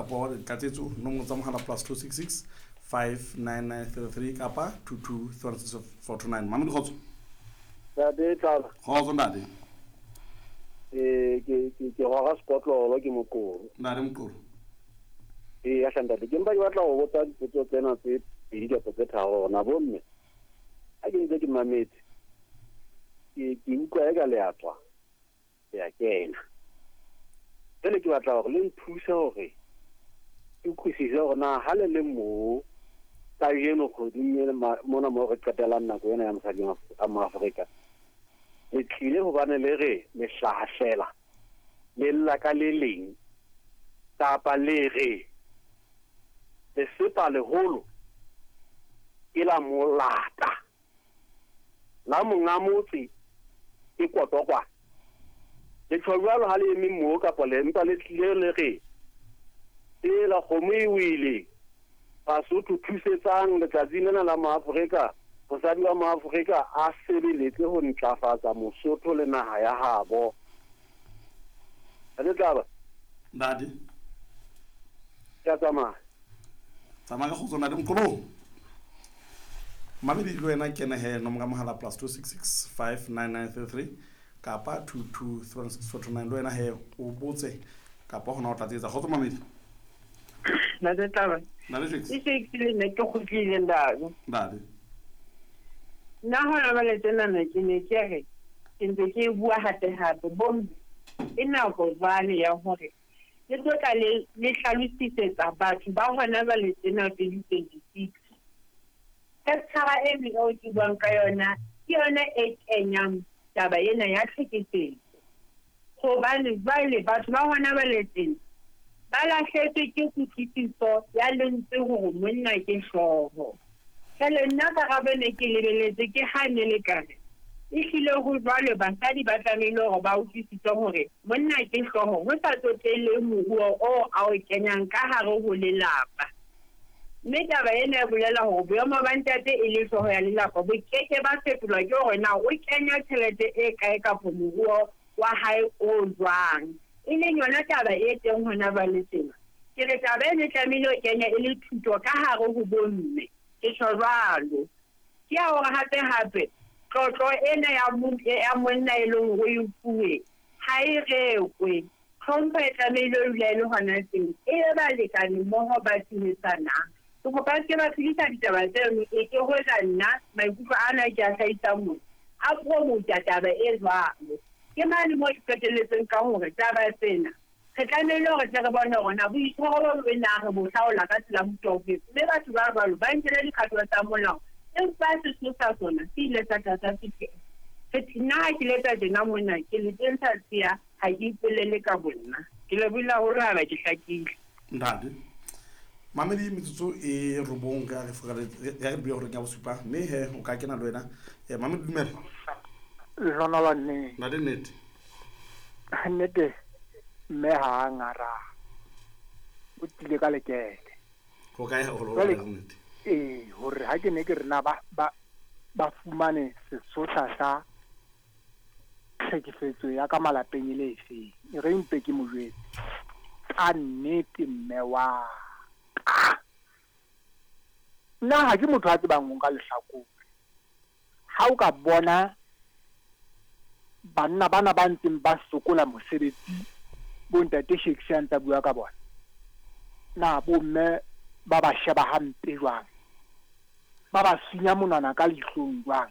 kapo tlatsetso nomoro tsa mohala plus 266 59933 kapa 2236429. Mamedi, kgotso. Ntate Tlala. Kgotso, ntate. Eh, ke gora sekotlolo, ke Mokoro. Ntate Mokoro. Ee, ya ntate, ke mpa ke batla go botsa dipotso tsena tse pedi kapa tse tharo gona bomme. Ha ke ntse ke mametse, ke utlwa eka le a tswa, le a kena. Jwale ke batla hore le nthuse hore ke utlwisise hore na ha le le moo kajeno kgweding e mona moo re qetelang nako ena ya mosadi wa Moafrika, le tlile hobane le re le hlahlela le lla ka le leng, kapa le re lesepa leholo ke la molata la monga motse ke kotokwa. Le tjho jwalo ha le eme moo, kapa le mpa le tlile le re tsela kgomo e wele, Basotho thusetsang letsatsing lena la Moafrika, mosadi wa Moafrika a sebeletse ho ntlafatsa Mosotho le naha ya habo. Ntate Tlaba. Ntate. Ke a tsamaya. Tsamaya ka kgotso, ntate Mokoro. Mamedi, le wena kene he nomoro ya mohala plus 266 59933 kapa 2236429, le wena he o botse kapa hona o tlatsetsa. Kgotso, mamedi. Ntate Tlaba. Ntate Jakes. E se ke le nna ke kgutlile, ntate. Ntate. Nna hona jwale tjenana ke ne ke re ke ntse ke bua hape hape, bomme e nako jwale ya hore le tlo tla le hlalosisetsa batho ba hona jwale tjena 2026. Chapter eno eo ke buang ka yona ke yona e kenyang taba ena ya tlhekefetso, hobane jwale batho ba hona jwale tjena ba lahletswe ke kutlwisiso ya lentswe hore monna ke hlooho. Jwale nna karabo ne ke lebeletse ke ha ne le kare ehlile ho jwalo, basadi ba tlamehile hore ba utlwisise hore monna ke hlooho ho sa tsotelle moruo oo a o kenyang ka hare ho lelapa. Mme taba ena e bolela hore boemo ba ntate e le hlooho ya lelapa bo keke ba fetolwa ke hore na o kenya tjhelete e kae kapa moruo wa hae o jwang, e leng yona taba e teng hona jwale tjena. Ke re taba ena e tlamehile ho kenya e le thuto ka hare ho bomme, ke tjho jwalo. Ke ya hore hape hape tlotlo ena ya monna e leng hore o e fuwe ha e rekwe. Tlhompho e tlamehile ho dula e le hona teng, e be balekane mmoho ba tshehetsanang. Ke kopa se ke ba phedisa ditaba tseno, e ke hoja nna maikutlo ana ke a hlahisang mona a promota taba e jwalo. Ke mane moo ke qetelletseng ka hore taba tsena re tlamehile hore tle re bone hore na boitshwaro bo bobe na re bo hlaola ka tsela mofuta ofe, mme batho ba jwalo ba nkele dikgato tsa molao, empa sesosa sona se ile sa tla sa fihlela. Nna ha ke letsa tjena mona ke le tentsha tshia, ha ke ipolele ka bonna. Ke lebohile haholo haeba ke hlakile. Ntate Mamedi, metsotso e robong ka re re bua horeng ya bosupa, mme he o ka kena le wena. Mamedi, dumela. Lehlohonolo nne. Ntate, nnete. Nnete, mme ha a ngara o tlile ka lekete. Ho kae haholo Jwale, ho nnete? Ee, hore ha ke ne ke re na ba fumane sesotha sa tlhekefetso ya ka malapeng e le efeng, e re mpe ke mo jwetse ka nnete mme wa ka. Nna ha ke motho a tsebang ho nka lehlakore. Ha o ka bona banna bana ba ntseng ba sokola mosebetsi, bo ntate Shakespeare a ntsa bua ka bona, na bomme ba ba sheba hampe jwang, ba ba sunya monwana ka leihlong jwang.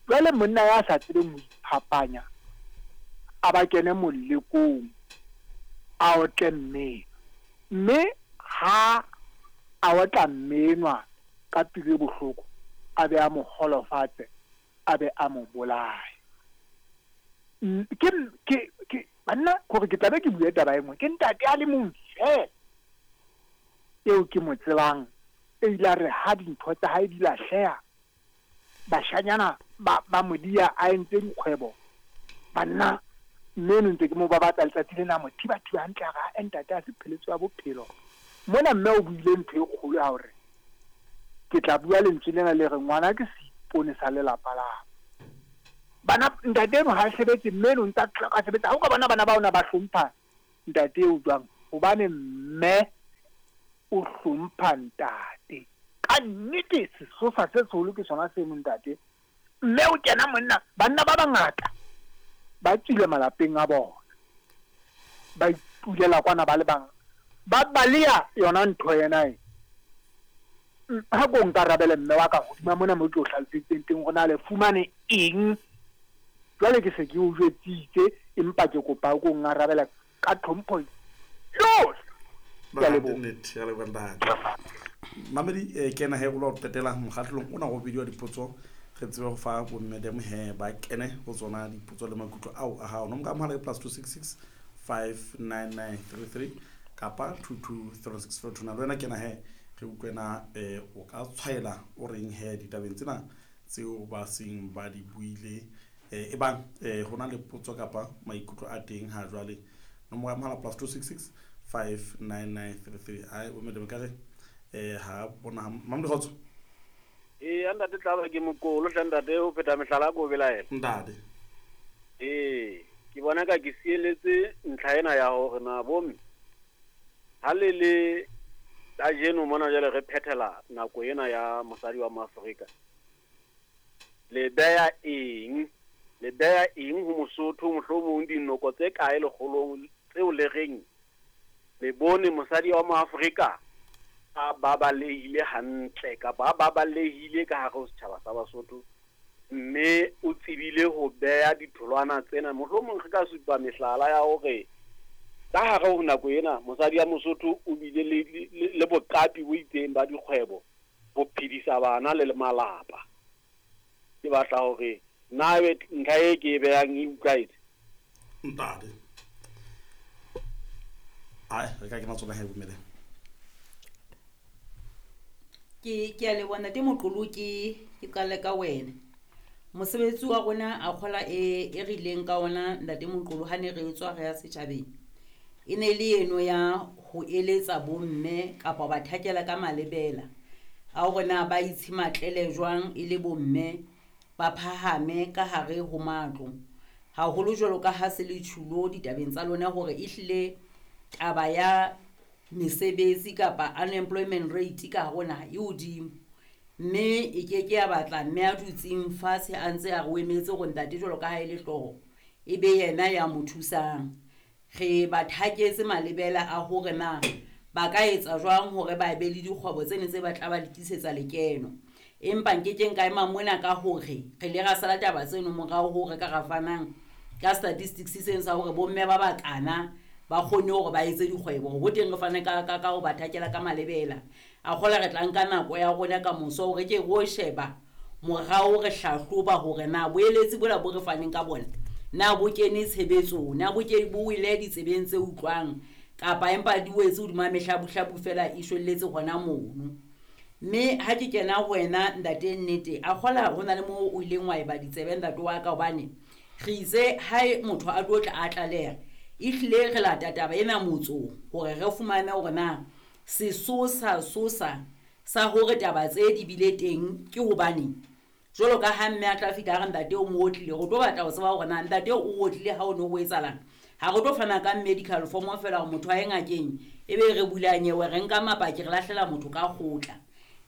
Jwale monna ya sa tsebeng ho iphapanya a ba kene molekong, a otle mme, mme ha a otla mme enwa ka pelo e bohloko, a be a mo holofatse, a be a mo bolaye. Ke banna, hore ke tlabe ke bue taba e nngwe, ke ntate a le mong feela eo ke mo tsebang, e ile a re ha dintho tsa hae di lahleha, bashanyana ba mo dia a entse dikgwebo, banna mme eno ntse ke mo babatsa letsatsi lena, mo thiba-thiba hantle, a re, ha ntate a se pheletso ya bophelo. Mona mme o buile ntho e kgolo ya hore ke tla bua lentswe lena le re ngwana ke seipone sa lelapa la bana. Ntate eno ha sebetse, mme eno ntse a tloka sebetsa. Ha o ka bona bana ba ona ba hlompha ntate eo jwang, hobane mme o hlompha ntate. Ka nnete sesosa se seholo ke sona seno ntate. Mme o kena monna, banna ba bangata ba tswile malapeng a bona. Ba itulela kwana ba le bang. Ba baleha yona ntho ena e. Ha ko nkarabele mme wa ka hodima mona mo ke o hlaloseditseng teng hore na le fumane eng. Jwale ke se ke o jwetsitse empa ke kopa o ko ngarabela ka tlhompho yohle. Ke a leboha. Nnete, ya leboha ntate. Mamedi kena he o lo qetela mokgahlelong ona go bidiwa dipotso re tsebe go fa bomme dem he ba kene go tsona dipotso le maikutlo ao a gago. Nomoro ya mohala ke +266 59933 kapa 2236429. Le wena kena he re utlwe na o ka tshwaela o reng he ditabeng tsena tseo ba seng ba di buile, e bang ho na le potso kapa maikutlo a teng ha jwale. Nomoro ya mohala +266 59933. Ai bomme dem ka re ha bona Mamedi Kgotso. Ee, ntate Tlaba ke mokolo hle ntate o pheta mehlala ko belaela. Ntate. Ee, ke bona ka ke sieletse ntlha ena ya hore na bomme ha le le kajeno mona jwale re phethela nako ena ya mosadi wa Moafrika. Le beya eng? Le beya eng ho Mosotho mohlomong dinoko tse kae lekgolong tseo le reng le bone mosadi wa Moafrika a babalehile hantle kapa a babalehile ka hare ho setjhaba sa Basotho mme o tsebile ho beya ditholwana tsena. Mohlomong re ka supa mehlala ya hore ka hare ho nako ena mosadi ya Mosotho o bile le boqapi bo itseng ba dikgwebo ho phedisa bana le malapa. Ke batla hore na ebe ntlha e ke e behang e utlwahetse? Ntate. Ai, re ka kena tsona he bommele. Ke a leboha ntate Moqolo, ke qale ka wena. Mosebetsi wa rona a kgola e rileng ka ona ntate Moqolo ha ne re tswa re ya setjhabeng. E ne le eno ya ho eletsa bomme kapa ba thakela ka malebela a hore na ba itshimatlele jwang e le bomme ba phahame ka hare ho matlo. Haholo jwalo ka ha se le tjhulo ditabeng tsa lona hore ehlile taba ya mesebetsi kapa unemployment rate ka hare ho naha e hodimo. Mme e ke ke ya batla mme a dutseng fatshe a ntse a re o emetse hore ntate jwalo ka ha e le hlooho e be yena ya mo thusang. Re ba thaketse malebela a hore na ba ka etsa jwang hore ba be le dikgwebo tse ne tse ba tla ba tlisetsa lekeno. Empa nkekeng ka ema mona ka hore re ile ra sala taba tseno morao hore ka ra fanang ka statistics seng sa hore bomme ba bakana ba kgonne hore ba etse dikgwebo. Ho teng re fane ka ho ba thakela ka malebela. A kgola re tla nka nako ya rona ka moso hore ke ro sheba morao re hlahloba hore na boeletsi bola bo re faneng ka bona na bo kene tshebetsong, na bo ke bo wele ditsebeng tse utlwang kapa empa di wetse hodima mehlabuhlabu fela e shwelletse hona mono. Mme ha ke kena ho wena ntate nnete, a kgola ho na le moo o ileng wa eba ditsebe ntate wa ka, hobane re itse ha motho a tlo tla a tlaleha, ehlile re lata taba ena motsong hore re fumane hore na sesosa sosa sa hore taba tse di bile teng ke hobaneng. Jwalo ka ha mme a tla fihla a re ntate o mo otlile, re tlo batla ho tseba hore na ntate o otlile ha o no ho etsahalang. Ha re tlo fana ka medical form feela hore motho a ye ngakeng, ebe re bula nyewe, re nka mapaki, re lahlela motho ka kgotla.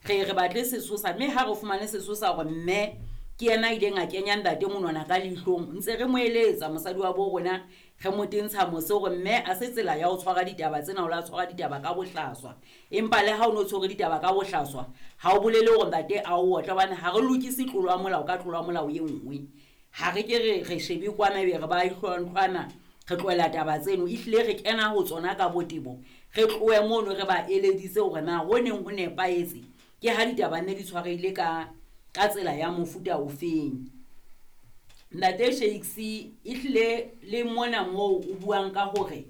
Re batle sesosa, mme ha re fumane sesosa hore mme ke yena a ileng a kenya ntate monwana ka leihlong, ntse re mo eletsa mosadi wa bo rona, re mo tentsha mose hore mme a se tsela ya ho tshwara ditaba tsena, o la tshwara ditaba ka bohlaswa. Empa le ha o no tshwere ditaba ka bohlaswa, ha o bolele hore ntate a o otle, hobane ha re lokise tlolo ya molao ka tlolo ya molao e nngwe. Ha re ke re shebe kwana ebe re ba ihlwantlhwana, re tlohela taba tseno, ehlile re kena ho tsona ka botebo, re tlohe mono re ba eleditse hore na ho neng ho nepahetse ke ha ditaba nne di tshwarehile ka tsela ya mofuta ofeng. Ntate Shakes, ehlile le mona moo o buang ka hore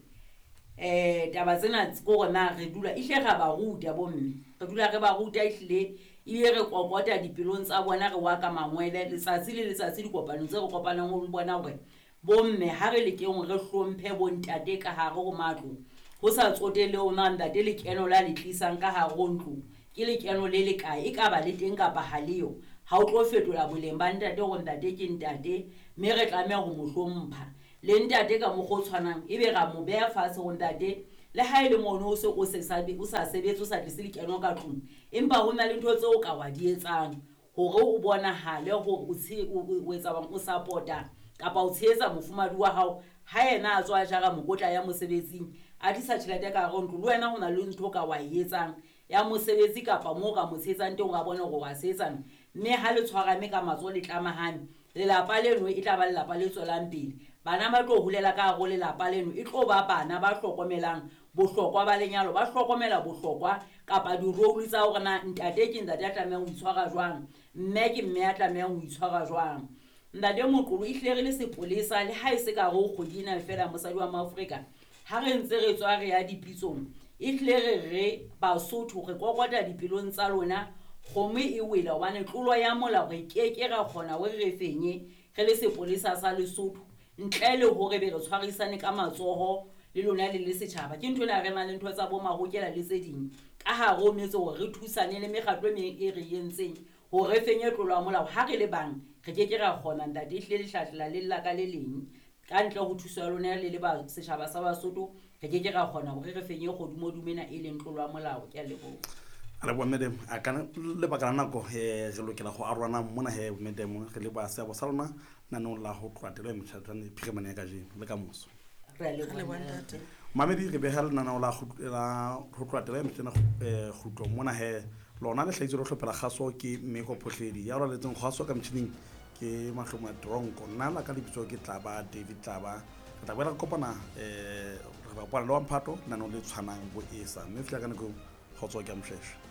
taba tsena ke hore na re dula, ehlile ra ba ruta bomme, re dula re ba ruta ehlile, ebile re kokota dipelong tsa bona, re wa ka mangwele letsatsi le letsatsi dikopanong tse re kopanang ho bona hore bomme ha re lekeng re hlomphe bontate ka hare ho matlo, ho sa tsotelle hore na ntate lekeno la le tlisang ka hare ho ntlo ke lekeno le le kae, e ka ba le teng kapa ha leo, ha o tlo fetola boleng ba ntate hore ntate ke ntate, mme re tlameha ho mo hlompha. Le ntate ka mokgwa o tshwanang, ebe ra mo beha fatshe hore ntate Le ha e le mono o se o se sa o sa sebetse, o sa tlise lekeno ka tlung, empa ho na le ntho tseo o ka wa di etsang hore o bonahale hore o o etsa bang, o support-a kapa o tshehetsa mofumahadi wa hao. Ha yena a tswa a jara mokotla ya mosebetsing, a tlisa tjhelete ka hare ho ntlo, le wena ho na le ntho o ka wa e etsang ya mosebetsi kapa moo o ka mo tshehetsang teng, hore a bone hore wa sehetsana. Mme ha le tshwarane ka matsoho, le tlamahane, lelapa leno e tla ba lelapa le tswelang pele. Bana ba tlo holela ka hare ho lelapa leno e tlo ba bana ba hlokomelang bohlokwa ba lenyalo, ba hlokomela bohlokwa kapa di-role tsa hore na ntate ke ntate a tlamehang ho itshwara jwang, mme ke mme a tlamehang ho itshwara jwang. Ntate Moqolo, ehlile re le sepolesa, le ha e se ka hare ho kgwedi ena feela, mosadi wa Maafrika, ha re ntse re tswa re ya dipitsong, ehlile re re Basotho re kokota dipelong tsa lona, kgomo e wele, hobane tlolo ya molao re keke ra kgona hore re fenye re le sepolesa sa Lesotho ntle le hore be re tshwarisane ka matsoho le lona le le setjhaba. Ke ntho ena re nang le ntho tsa bo mahokela le tse ding ka hare ho metse hore re thusane le mekgatlo e meng e re entseng hore re fenye tlolo ya molao. Ha re le bang re keke ra kgona, ntate, ehlile lehlahlela le lla ka le leng. Ka ntle ho thuso ya lona le le ba setjhaba sa Basotho, re keke ra kgona hore re fenye kgodumodumo ena e leng tlolo ya molao. Ke a leboha. A leboha, madam. A ka lebaka la nako re lokela go arolana mona he, madam, re leboha seabo sa lona naneong la ho tloha telo ya metjhatane phirimane ya kajeno le ka moso. Re a leboha, ntate. Mamedi, re beha lenaneo la ho tloha telo ya metjhana kgutlo mona he. Lona le hlahitswe le hlophela kgaso ke Mmeko Phohledi, ya rwaletseng kgaso ka metjhining ke Mahlomo a Tronko. Nna la ka lebitso ke Tlaba David Tlaba. Re tla boela re kopana, re tla kopana le wa mphato lenaneong le tshwanang bo esa, mme fihla ka nako eo, kgotso ke a moshweshwe.